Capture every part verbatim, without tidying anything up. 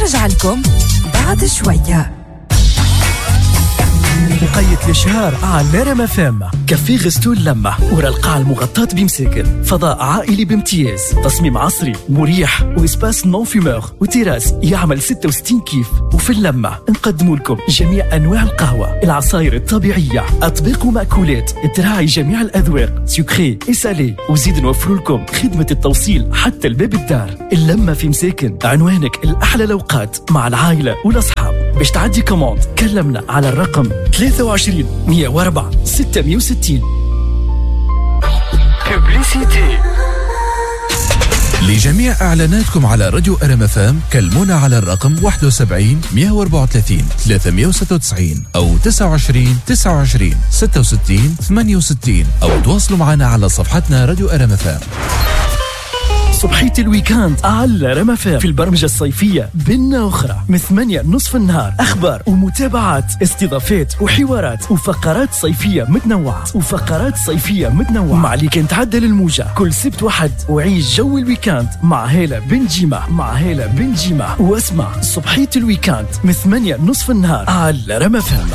نرجع لكم بعد شوية. وقيت الإشهار على رام فام. café resto اللمة ورا القاعة المغطاة بمساكن، فضاء عائلي بامتياز، تصميم عصري مريح و espace non-fumeur و terrasse يعمل ستة وستين كيف. وفي اللمة نقدم لكم جميع أنواع القهوة، العصاير الطبيعية، أطباق ومأكولات تراعي جميع الأذواق، sucré et salé، وزيد نوفر لكم خدمة التوصيل حتى الباب الدار. اللمة في مساكن، عنوانك الأحلى الأوقات مع العائلة والأصحاب. باش تعدي commande كلمنا على الرقم ثلاثة وعشرين مية وأربعة ستمية وستين. Publicité. لجميع إعلاناتكم على راديو أرم أف أم كلمونا على الرقم واحد وسبعين مية وأربعة وثلاثين ثلاثمية وستة وتسعين أو تسعة وعشرين تسعة وعشرين ستة وستين ثمانية وستين، أو تواصلوا معنا على صفحتنا راديو أرم أف أم. صبحية ال week-end على رام أف أم في البرمجة الصيفية بنا أخرى من ثمانية نصف النهار، أخبار ومتابعات، استضافات وحوارات وفقرات صيفية متنوعة وفقرات صيفية متنوعة مع اللي كان تعدل الموجة كل سبت وحد. وعيش جو ال week-end مع هالة بن جيمة، مع هالة بن جيمة، واسمع صبحية ال week-end من ثمانية نصف النهار على رام أف أم.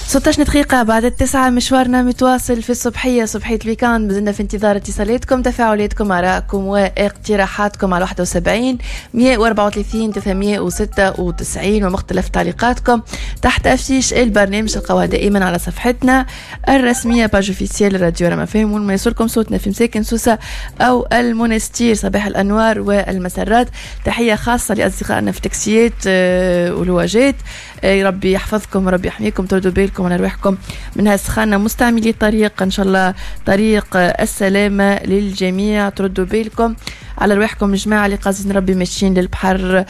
ستاش دقيقة بعد التسعة، مشوارنا متواصل في الصبحية، صبحية ال week-end. مازلنا في انتظار اتصالاتكم، تفاعلاتكم، آرائكم واقتراحاتكم على واحد وسبعين مية وأربعة وثلاثين ثلاثمية وستة وتسعين ومختلف تعليقاتكم تحت affiche البرنامج تلقاوها دائما على صفحتنا الرسمية page officielle راديو رام أف أم، وما يوصلكم صوتنا في مساكن سوسة أو المونستير. صباح الأنوار والمسرات. تحية خاصة لأصدقائنا في تاكسيات، آه، ولواجات، آه، ربي يحفظكم وربي يحميكم، تردوا بالكم على رواحكم من هالسخانة. مستعملي الطريق إن شاء الله طريق السلامة للجميع، تردوا بالكم على رواحكم جماعة اللي قاصدين ربي ماشيين للبحر،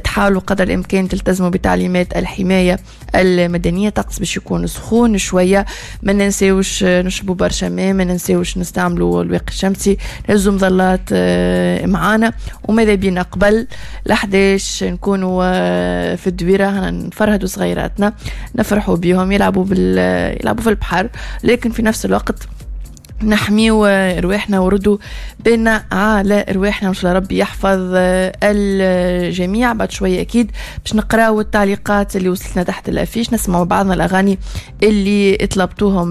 تحاولوا قدر الإمكان تلتزموا بتعليمات الحماية المدنية. طقس باش يكون سخون شوية، ما ننساوش نشربوا برشا ماء، ما ننساوش نستعملوا الواقي الشمسي، نهزوا مظلات، آه، معانا، وماذا بينا قبل الأحداش نكونوا، آه، في الدويرة، هنا نفرهدوا صغيراتنا، نفرحوا بيهم، يلعبوا بال-، يلعبوا في البحر، لكن في نفس الوقت نحميو رواحنا وردوا بينا على رواحنا، وإن شاء الله ربي يحفظ الجميع. بعد شوية أكيد باش نقراو التعليقات اللي وصلتنا تحت ال affiche، نسمعوا بعضنا الأغاني اللي طلبتوهم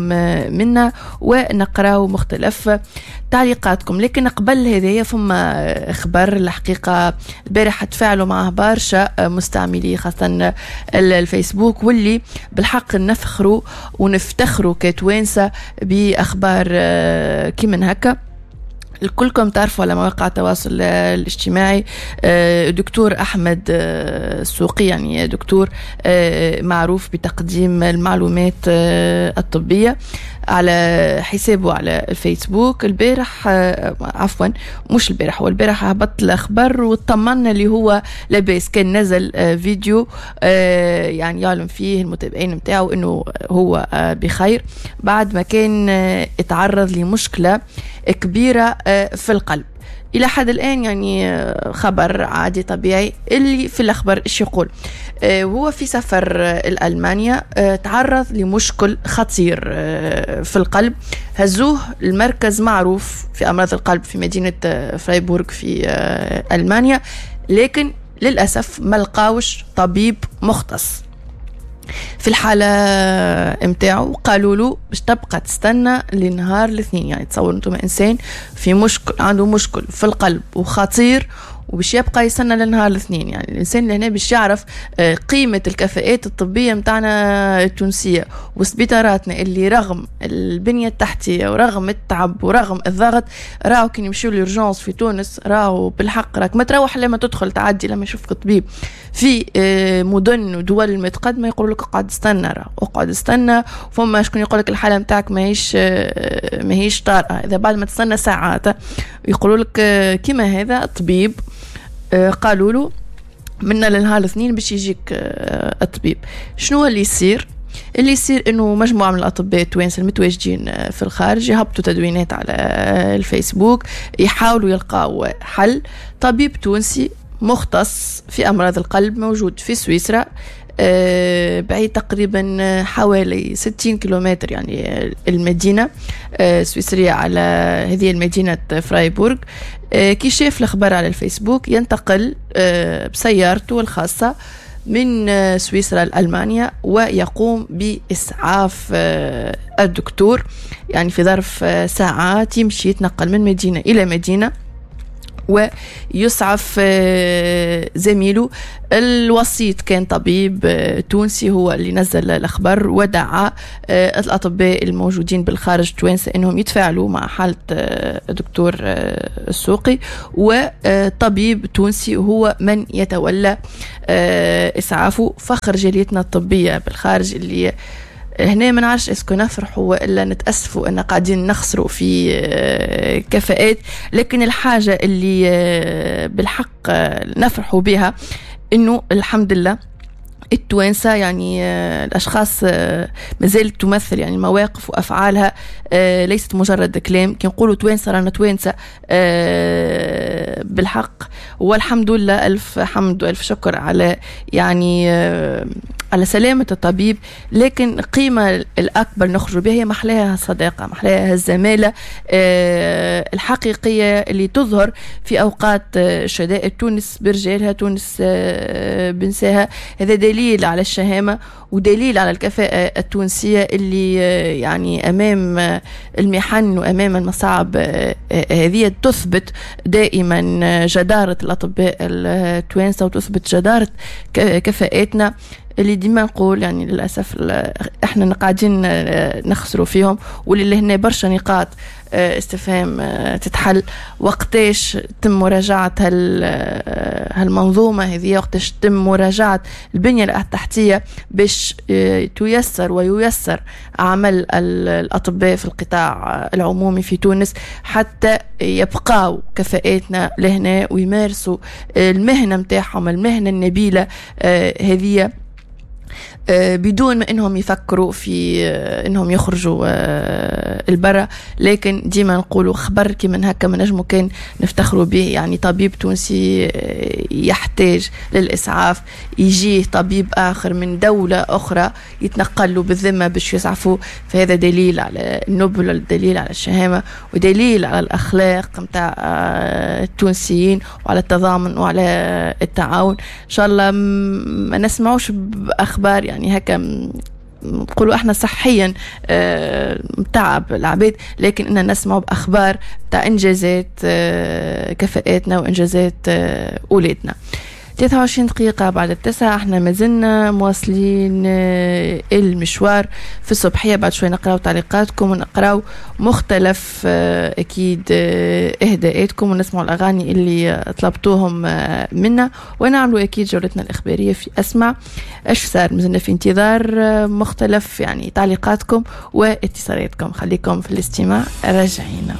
منا ونقراو مختلف تعليقاتكم. لكن قبل هذايا فما خبر الحقيقة البارح تفاعلوا معه برشا مستعملي خاصة الفيسبوك، واللي بالحق نفخروا ونفتخروا كتوانسة بأخبار كيما هكا. الكلكم تعرفوا على مواقع التواصل الاجتماعي دكتور أحمد السوقي، يعني دكتور معروف بتقديم المعلومات الطبية على حسابه على الفيسبوك. البارح، عفوا مش البارح، هو البارح هبط الأخبار واطمنا اللي هو لاباس، كان نزل فيديو يعني يعلم فيه المتابعين متاعه انه هو بخير بعد ما كان اتعرض لمشكلة كبيرة في القلب. إلى حد الآن يعني خبر عادي طبيعي. اللي في الأخبار إيش يقول؟ آه، هو في سفر لألمانيا، آه، تعرض لمشكل خطير، آه، في القلب، هزوه المركز معروف في أمراض القلب في مدينة، آه، فرايبورغ في، آه، ألمانيا، لكن للأسف ما لقاوش طبيب مختص في الحالة متاعو. قالوا له باش تبقى تستنى لنهار الاثنين. يعني تصور انتم انسان في مشكل، عنده مشكل في القلب وخطير، وباش يبقى يستنى لنهار الاثنين. يعني الانسان اللي هنا باش يعرف، آه، قيمة الكفاءات الطبية متاعنا التونسية وسبيطاراتنا اللي رغم البنية التحتية ورغم التعب ورغم الضغط، راهو كي نمشيو l'urgence في تونس راهو بالحق راك ما تروح لما تدخل تعدي لما يشوفك طبيب. في، آه، مدن ودول متقدمة يقولوا لك اقعد استنى، راهو اقعد استنى، فما شكون يقول لك الحالة متاعك ماهيش، آه، ماهيش طارئة. إذا بعد ما تستنى ساعات يقولوا لك، آه، كيما هذا الطبيب، آه، قالوا له منا لنهار الاثنين باش يجيك، آه، الطبيب. شنو اللي يصير؟ اللي يصير انه مجموعة من الاطباء التوانسة المتواجدين، آه، في الخارج يهبطوا تدوينات على الفيسبوك يحاولوا يلقاو حل. طبيب تونسي مختص في امراض القلب موجود في سويسرا، بعيد تقريبا حوالي ستين كيلومتر يعني المدينة السويسرية على هذه المدينة فرايبورغ. كي شاف الأخبار على الفيسبوك ينتقل بسيارته الخاصة من سويسرا لألمانيا ويقوم بإسعاف الدكتور، يعني في ظرف ساعات يمشي يتنقل من مدينة إلى مدينة ويسعف زميله. الوسيط كان طبيب تونسي هو اللي نزل الأخبار ودعا الأطباء الموجودين بالخارج التوانسة أنهم يتفاعلوا مع حالة الدكتور السوقي، وطبيب تونسي هو من يتولى إسعافه. فخر جاليتنا الطبية بالخارج اللي هنا ما نعرفش est-ce que نفرحوا والا نتاسفوا ان قاعدين نخسروا في كفاءات، لكن الحاجة اللي بالحق نفرحوا بها انه الحمد لله التوانسة يعني الأشخاص مازالت تمثل يعني مواقف وأفعالها ليست مجرد كلام. كي نقولوا توانسة رانا توانسة بالحق، والحمد لله ألف حمد وألف شكر على يعني على سلامة الطبيب. لكن القيمة الأكبر نخرج بها هي محلاها الصداقة، محلاها الزمالة الحقيقية اللي تظهر في أوقات شدائد. تونس برجالها، تونس بنساها، هذا دليل على الشهامة ودليل على الكفاءة التونسية اللي يعني أمام المحن وأمام المصاعب هذه تثبت دائما جدارة الأطباء التوانسة وتثبت جدارة كفاءاتنا اللي ديما نقول يعني للأسف احنا قاعدين نخسروا فيهم، واللي هنا برشا نقاط استفهام تتحل. وقتاش تم مراجعة هال هالمنظومة هذه؟ وقتاش تم مراجعة البنية التحتية باش تيسر وييسر عمل الأطباء في القطاع العمومي في تونس حتى يبقاو كفاءاتنا لهنا ويمارسوا المهنة متاعهم، المهنة النبيلة هذه، بدون ما انهم يفكروا في انهم يخرجوا البرا. لكن ديما نقولوا خبر كي من هكا ما نجمو كان نفتخروا به، يعني طبيب تونسي يحتاج للاسعاف يجيه طبيب اخر من دولة اخرى يتنقل له بالذمة باش يسعفوه، فهذا دليل على النبل، دليل على الشهامة، ودليل على الاخلاق نتاع التونسيين وعلى التضامن وعلى التعاون. ان شاء الله ما نسمعوش باخبار يعني هكا نقولوا احنا صحيا تعب العباد، لكن اننا نسمعوا باخبار تاع انجازات كفاءاتنا وانجازات اولادنا. ثلاثة وعشرين دقيقة بعد التسعة، احنا مازلنا مواصلين المشوار في الصبحية. بعد شوي نقراو تعليقاتكم ونقراو مختلف اكيد اهداءاتكم ونسمعوا الاغاني اللي طلبتوهم منا، ونعملوا اكيد جولتنا الاخبارية في اسمع اش صار. مازلنا في انتظار مختلف يعني تعليقاتكم واتصالاتكم، خليكم في الاستماع، راجعين.